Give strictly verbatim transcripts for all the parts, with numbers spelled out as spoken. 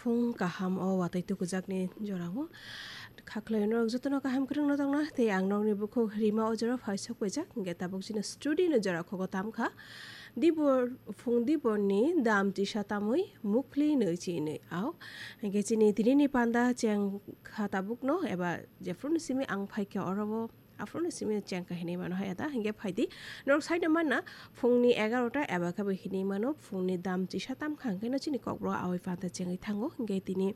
Phung kaham o watwi tukujakni jorao. Khaklai norok jotono kaham kwrwngno tongna, tei ang nokni bukhuk Rima o jora phai sokpaijak, hingke tabuk chini studio ni jora khogo tamkha. Dibor, phung diborni dam chisa tamwi mukhli nwi chinwi ao. Hingke chini tinini panda cheng kha tabukno eba jephru ni simi ang phaikha oro o. Aphuru ni simi chengkha hinwi mano hai da, hingke phaidi. Norok saino manna phungni egarota eba khe bo hinwi mano, phungni dam chisa tamkha hingke no chini kokborok awai panda chengwi thango, hingke tini,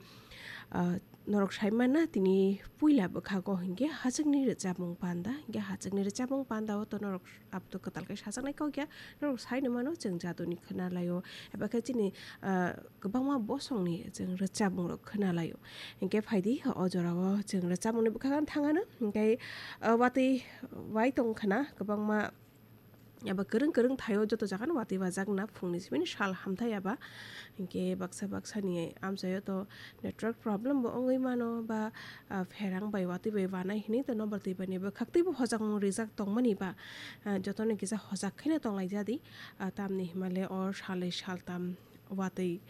ah, norok sai manna tini puila bwkhago hingke hachwkni rwchapmung panda, hingke hachwkni rwchapmung panda o to norok abto kwtal khe sajaknai kok ya, norok saino mano chwng jaduni khwnalaio, eba khe chini, ah, kwbangma bosongni chwng rwchapmungrok khwnalaio. Hinkhe phaidi o jorao chwng rwchapmungni bwkhakno thangano. Hinkhe, ah, watwi wai tongkhana kwbangma eba kwrwng kwrwng thaio joto jagano watwi wajakna phungni simi sal hamthai eba. Hinkhe baksa baksani amchaio to network problem bo wngwi mano ba, ah, pherang bai watwi bai wanai hinwi to nobar twi bani bwkhak twibo hojakmung rijak tongmani ba, ah, jotono kisa hojak kheno tonglai jadi, ah, tamni himale o salai saltam watwi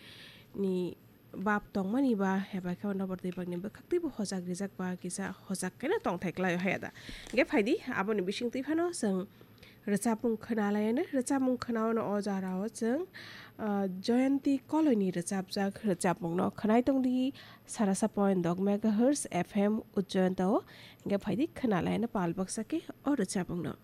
ni bab tongmani ba, eba khe nobar twi bakni bwkhak twibo hojak rijak ba, kisa hojak kheno tongthai klai o haya da. Hingke phaidi, aboni bising twi phano chwng rwchapmung khwna laiyano, rwchapmung khwnaono o jora o chwng, ah, Jayanti Koloini rwchapjak rwchapmungno khwnai tongdi, sarasa point dok megahertz F M Ujjayanta o. Hingke phaidi khwna laiyano pal baksa khe o rwchapmungno.